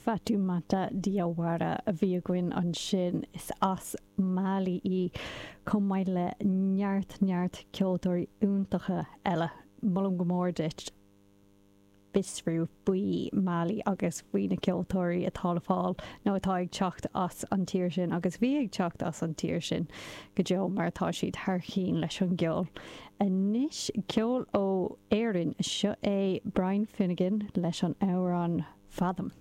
Fatoumata Diawara a bhí againn ansin. Is as Mali í, chomh maith le neart neart ceoltóirí iontacha eile. Molaim go mór duit fiosrú faoi Mali agus faoi na ceoltóirí atá le fáil nó atá ag teacht as an tír sin agus a bhí ag teacht as an tír sin go deo mar tá siad thar cinn leis an gceol. Anois ceol ó Éirinn, seo é Brian Finnegan leis an amhrán Fathom.